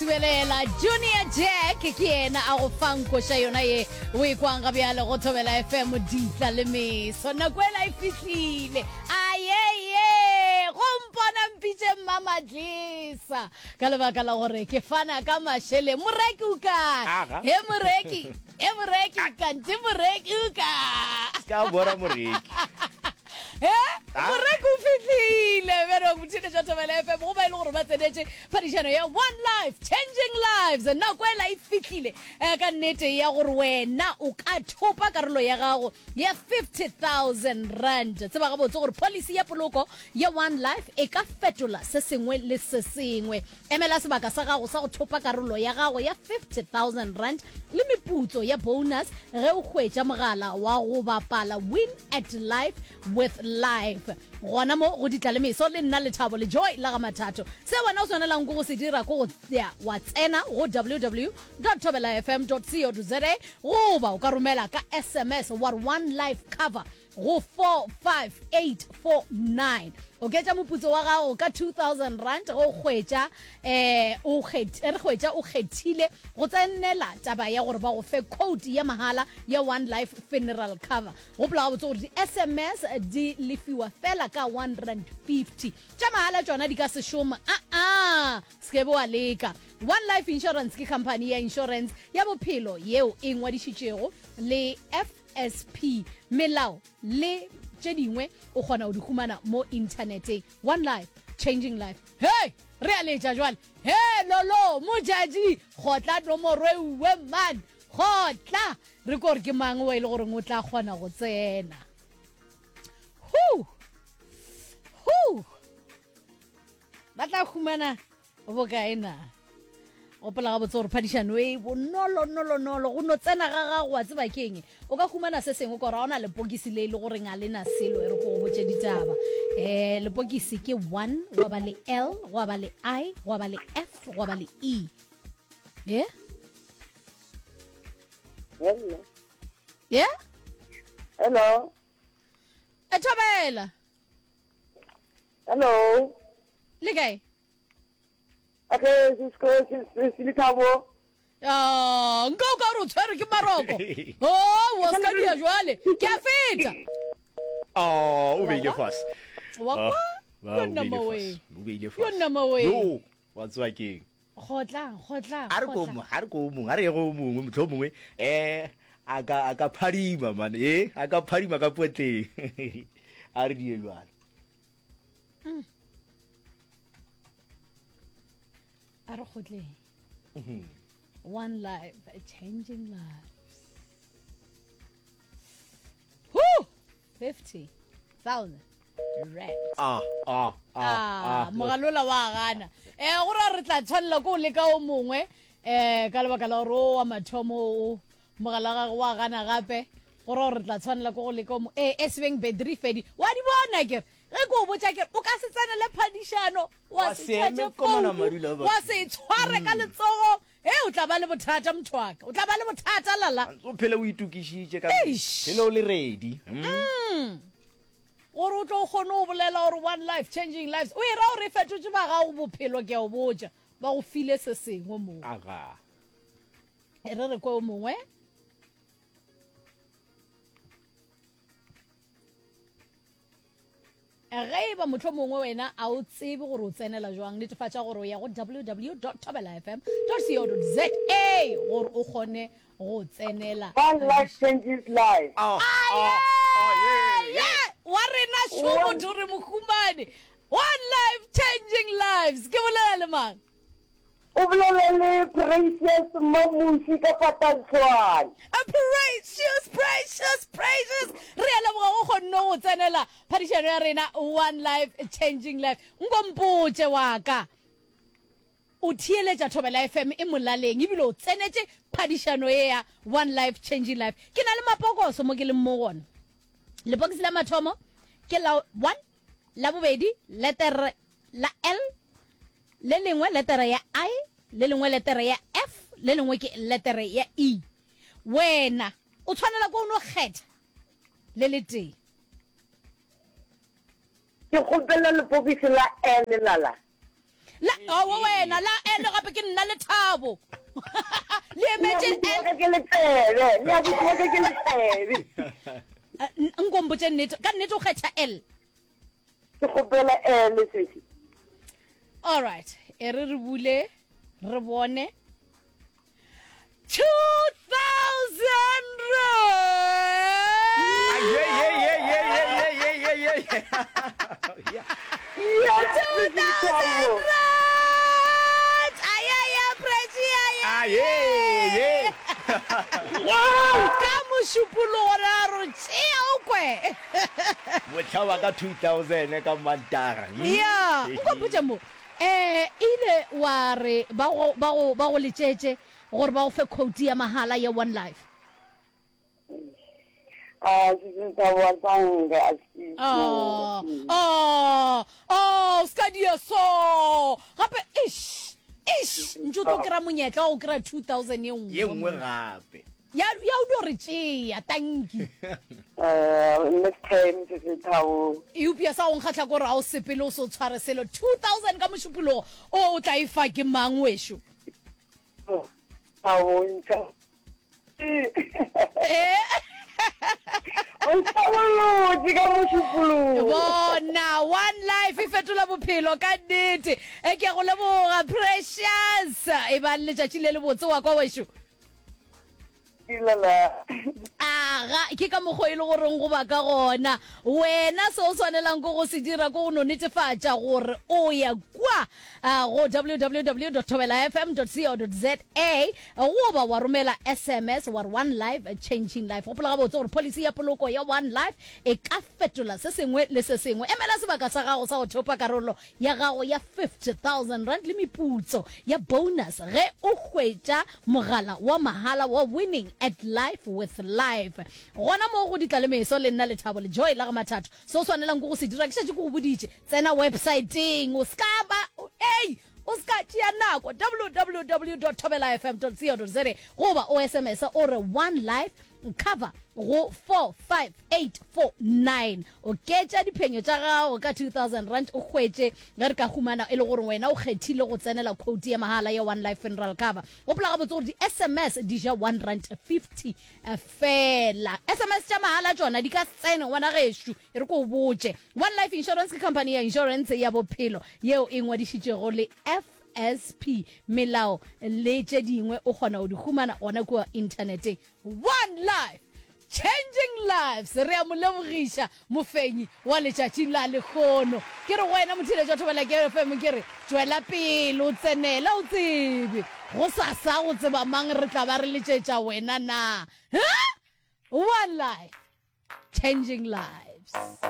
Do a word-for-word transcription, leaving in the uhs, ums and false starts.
Tubelela Junior Jack ke yena a go fang koša yona ye o e kwang ga bjale go Thobela F M ditla le meso. Nako ela e fihlile, ayeye, go mpona mpitše Mmamadlesa ka lebaka la gore ke fana ka mašeleng. Moreki o kae? Aga. He moreki, he moreki, kante moreki o kae? Ka bora moreki. He moreki o fihlile. Bjalo botheletša Thobela F M go ba e le gore ba tsenetše phadišano ya One Life Changing Lives. Nako ela e fihlile um ka nnete ya gore wena o ka thopa karolo ya gago ya fifty thousand rand. Tseba gabotse gore policy ya poloko ya One Life e ka fetola se sengwe le se sengwe. Emela sebaka sa gago sa go thopa karolo ya gago ya fifty thousand rand le meputso ya bonus ge o hwetša mogala wa go bapala Win at Life with Life gona mo go ditla le meso le nna Lethabo le Joy la ga Mathato. Se wena o tshwanelang ko go se dira ko go ya wa tsena go W W W thobela F M co za goba o ka romela ka S M S wa re "One Life Cover" go four five eight four nine. Oketša moputso wa gago ka two thousand rand ge o hwetša um o re hwetša o kgethile go tsenela taba ya gore ba go fe code ya mahala ya One Life Funeral Cover. Gopola gabotse gore di-S M S di lefiwa fela ka one rand fifty. Tša mahala tšona di ka se šoma, aa se ke be wa leka. One Life Insurance ke company ya insurance ya bophelo yeo e ngwadišitšego le F S P. Melao le tše dingwe o kgona go di humana mo inthaneteng. One Life Changing Life. Hei, re a letša jwale. He lolo mojadi, kgotla nomoro e uwe man, kgotla re ko gore ke mang wa e le goreng o tla kgona go tsena. Hu hu, ba tla humana bokae na? Gopola gabotse gore phadišano e bonolonolonolo go no tsena ga gago, wa tseba keng, o ka humana se sengwe kore ga ona lepokisi le e le goreng a lena selo. E re ko go botse ditaba. um lepokisi ke one, gwa ba le L, gwa ba le I, gwa ba le F, gwa ba le E ye. Hello. Ye. Hello. E thobela. Hello. Le kae? Okay, Cisco, Lethabo. Ah, nka o ka gore o tshwere ke maroko o wa ska dia jwale ke a feta. Oh, o beile fase. Wa Ah, kwa. ba, Yo o nna beile mawe. fase, o beile Yo fase. nna mawe. Yo, wa tseba keng? Kgotlang, kgotlang. A re ko Kgotlang. mo- a re ko o mongwe, a re ye go o mongwe, motlho o mongwe um a ka a ka phadima man, e a ka phadima ka potleng. A re die jalo. A re kgotleng. One Life Changing Lives. Woo! fifty thousand rand. Ah ah ah. Ah, ah. Mogalola wa gana. um go ra re tla tshwanela ko o leka o mongwe um ka lebaka la gore o wa mathomo o mogala wa gagwe wa gana gape. Go ra gore re tla tshwanela ko go leka o mongwe. Ee, e sebeng battery fedi wa di bona kere ge ke o botša kere o ka se tsenele phadišano wa Wa se se eme tšhatše komana founu madula a wa batho. se tshware ka letsogo e o tla ba le bothata, motho waka, o tla ba le bothata lala. O phele o itokišitše ka Eish. phele o le ready Mm. Gore o tlo kgone go bolela gore "One Life Changing Lives" o e ra gore e fetotse ba gago bophelo. Ke a o botša, ba go file se sengwe moo. Aga. E re re kwe o mongwe. Ge e ba motlho mongwe wena a o tsebe gore o tsenela jwang, netefatša gore o ya go W W W thobela F M co za gore o kgone go tsenela. One Life Changes Life. Ah, ah, ah, yeah, yeah. Wa rena šo motho re mohumane. One Life Changing Lives, ke bolela le mang? O bolela le Precious Mamushi ka Patantlwane. A Precious, Precious, Precious, re a leboga go kgonne go tsenela phadišano ya rena One Life Changing Life. Nkompotše wa ka, o theeletša Thobela F M e molaleng ebile o tsenetše phadišano e ya One Life Changing Life. Ke na le mapokoso mo ke leng mo gona. Lepokisi la mathomo ke la one, la bobedi letere la L, le lengwe letere ya I, le lengwe letere ya F, le lengwe ke letere ya E. Wena o tshwanela ko o no kgetha le le tee. Ke kgopela lepokisi la L lala. La aowa wena la L gape ke nna Lethabo. Le emetše Le L. abuti wa ka ke letsebe, le abuti wa ka ke letsebe. Nko mpotše nnete, ka nnete o kgetha L? Ke kgopela L sesi. All right, e re re bule re bone. two thousand rand. Ye ye ye ye ye ye ye ye ye. Yes, two thousand rand. Ayaya Precious. Ah ye ye. Ka mošupologo ra re tšea o kwe. Mohla wa ka two thousand ka Mantaga. Ya, nko mpotše mo. Eh ile wa re ba go ba go ba go letšetše gore ba go fe quote ya mahala ya One Life. Ah, sisi Thabo a tsange a si. Oh, oh, oh, ska dia so. Gape ish, ish, ntse o tlo kry-a monyetla wa go kry-a two thousand ye Ye nngwe. nngwe gape. Ya ya o dio re tšea, tanki. Eh, next time sisi Thabo. Eupša sa go nkgahla ke gore ga o sepele o se o tshware selo. two thousand ka mošupologo o o tla e fa ke mang wešo? Thabo ntšha. Eh? O ntlhabolotše ka mošupologo. Bona, One Life e fetola bophelo ka nnete. E ke go leboga Precious. E ba letšatši le le botse wa kwa wešo. Dilala. Aga, ke ka mokgwa e le goreng go ba ka gona. Wena se o swanelang ke go se dira ke go no netefatša gore o ya kwa go w w w dot thobela f m dot co dot za goba wa romela S M S wa re One Life Changing Life. Gopola gabotse gore policy ya poloko ya One Life e ka fetola se sengwe le se sengwe. Emela sebaka sa gago sa go thopa karolo ya gago ya fifty thousand rand le meputso ya bonus ge o hwetša mogala wa mahala wa Winning at Life with Life. Gona mo go ditlalemeso le nna Lethabo le Joy la ga Mathatho. Se o swanelang ke go se dira ke šetše ke go boditše. Tsena websiteng, o ska ba, ei, o ska tšea nako, w w w dot thobela f m dot co dot za goba o S M S o re One Life cover go four five eight four nine. Oketša diphenyo tša gago ka two thousand rand o hwetše ge re ka humana e le gore wena o kgethile go tsenela quote ya mahala ya One Life Funeral Cover. Gopola gabotse gore di-S M S di ja one rand fifty fela. S M S tša mahala tšona di ka se tsene ngwana gešo, e re ko o botše. One Life Insurance ke company ya insurance ya bophelo yeo e ngwadišitšego le F S P. Melao le tše dingwe o kgona go di humana gona kua inthaneteng. One Life, changing lives. Re a mo lebogiša mofenyi wa letšatši la lekgono. Ke re go wena motheeletši wa Thobela Ke F M, ke re tšwela pele o tsenela o tsebe go sasa go tseba mang re tla ba re letšetša wena na. Huh? One Life, changing lives.